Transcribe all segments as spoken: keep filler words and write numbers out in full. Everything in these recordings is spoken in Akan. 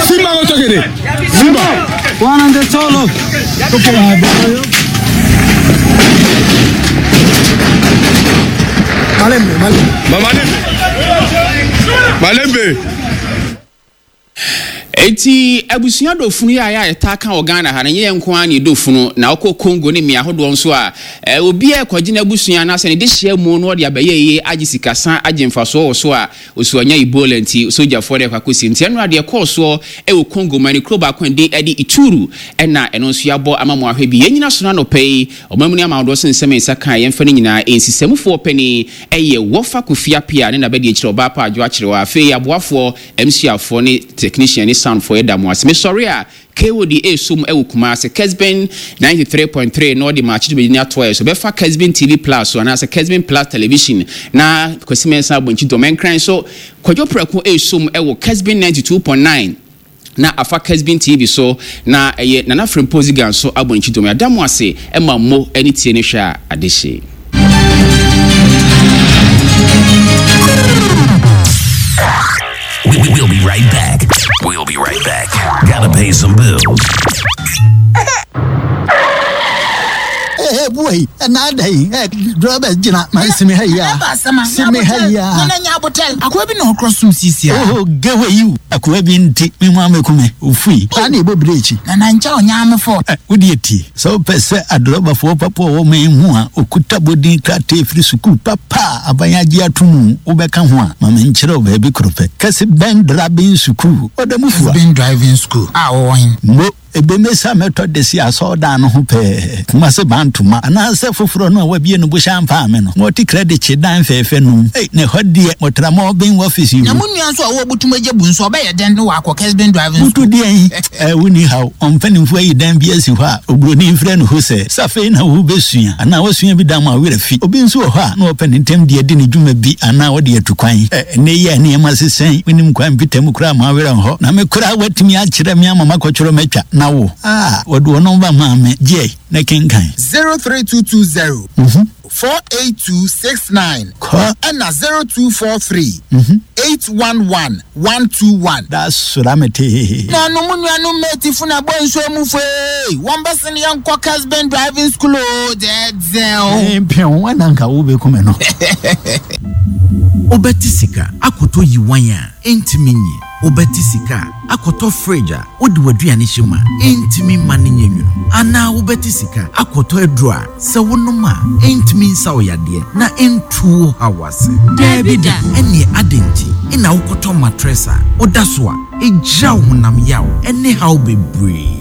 Simba kotokede. Simba. Wana solo. Malembe, malembe. Malembe. Malembe. Eti abusua dofunu yi a yɛ a yɛtaa ka wɔ Ghana ha no, nyɛ yɛn nko ara na yɛdɔ na wokɔ Congo ne mmea ahodoɔ nso a, obi a ɛkɔgye n'abusua anaasɛ ne dehyia mu no ɔde abɛyɛ yie agye sikasa agye mfasoɔ wɔ so a osu anya Ebola nti sogyafoɔ de akɔ akɔsi. Nti ɛno adeɛ kɔɔ soɔ ɛwɔ Congo ma ne kuro baako a ɛde ɛde Ituri ɛna ɛno nso yɛabɔ ama mo ahwɛ bi. Yɛn nyina so no anɔpa yi ɔman mu ne ama ahodoɔ so nsɛm nsa kan yɛmfa no nyinaa nsisɛmufoɔ panin ɛyɛ Wɔfa Kofi Appiah ne n'abɛdi akyerɛ ɔbaa pa adwo akyerɛ wɔ afei aboafoɔ M C afoɔ ne technician ne soundfoɔ yɛda mo ase. Mesɔre a K O D esum ɛwɔ Kumasi Kesben ninety-three point three na ɔde maakye dwumadie no atoa yɛ so bɛfa Kesben T V Plus so anaasɛ Kesben Plus Television na Kwasi Mensah Abonkyi dɔm ɛnkran so Kwadwo Prɛko esum ɛwɔ Kesben ninety-two point nine na afa Kesben T V so na ɛyɛ Nana Frimpong Zigan so Abonkyi dɔm yɛda mo ase ɛma mo ɛne tie ne hwɛ a adehye. We'll be right back. We'll be right back. Gotta pay some bills. Hey, hey, boy. And I day, driver, Gina, my simi hey ya. Simi hey ya. Akwa bi na okro sum sisi a. Oh, get where you. Akwa bi nti mi nwa mekume. Ofui. Ani bo brechi. Na na ncha onya me fo. Wodi eti. So pese adroba fo papa wo me hu a okuta bodin krate firi sukuu papa abanya gi atumu wo beka ho a ma me nkyere wo ba bi krope. Kese ben driving school. Odamufu. Ben driving school. Ah, wo hin. Mo ebemesa method si asoda no ho pe kuma se bantuma ana se foforo no wa bie no bo shampa me no mo ti credit chi dan fefe no eh ne hodie mo tra mo bin office yi na mo nua so a wo butum agye bu nso obeye den no wa akọ Kesben driving school butu de eh wuni haw omfanimfo ayi dan bi asi ho a obroni mfrɛ no ho se safe na wo besua ana wasua bi dan ma werɛ fi obi nso wɔ hɔ a na wɔpɛ ne ntem de adi ne dwuma bi ana wɔde atukwan eh ne ye ne ma sesen wonim kwan pitam kura ma werɛ ho na me kura watumi akyerɛ me ama makɔkyerɛ matwa na wo ah wɔde wɔn ba maa me gye na kenkan zero three two two zero four eight two six nine ɛna zero two four three eight one one one two one. That's ramete. Na no mu nuanu meti funa bɔ nsuo mu fee wɔn bɛ sini yɛn kɔ Kesben driving school o dɛdɛw. Mpɛn wɔn na nka wo bɛ kume no. Obeti sika akoto yi wan a entimi nyi. Obeti sika akoto fridge a wodi waduane hyema entimi ma ne nyenwunu ana wobeti sika akoto aduru a sɛ wonoma entimi nsa wo yade na entu hawase Debida ene adenti ina wokoto mattress a woda so a egya wo honam yaw ene haw bebree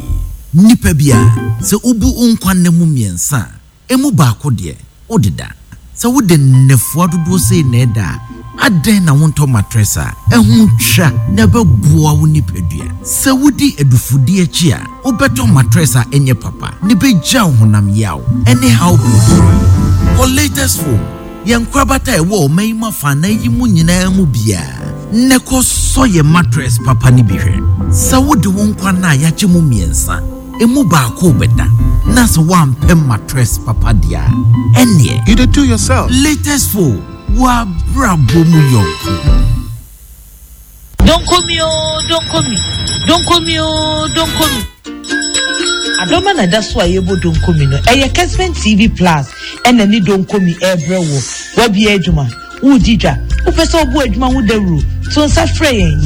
nipa bia sɛ ubu unkwanne mu miensa emu baako deɛ wodeda sɛ wode nnefoa dodoɔ sei na ɛda adɛn na wontɔ mattress a ɛho twa na ɛbɛboa wo nipadua sɛ wodi adufudie akyi a wobɛtɔ mattress a ɛnyɛ papa ne bɛgya wo honam yaw ɛne haw bebree kɔ latest phone yɛn nkorabata a ɛwɔ ɔman yi mu afanan yi mu nyinaa mu biara ne kɔ sɔ yɛ mattress papa ne bi hwɛ sɛ wode wo nkwa no a yɛagye mu mmiɛnsa emu baako bɛda na sɛ woampɛ mattress papa deɛ a ɛneɛ you did do yourself latest phone wa brabo mu yɔnko. Don't call me, oh, don't call me. Don't call me, oh, don't call me. Adoma na da so a yebo don't call me no. Ɛyɛ Kesben T V Plus ɛna ni don't call me ɛbrɛ wo. Wabie adwuma. Wo didwa. Wo pɛ sɛ obu adwuma ho dawuro. To nsa frɛ yɛn.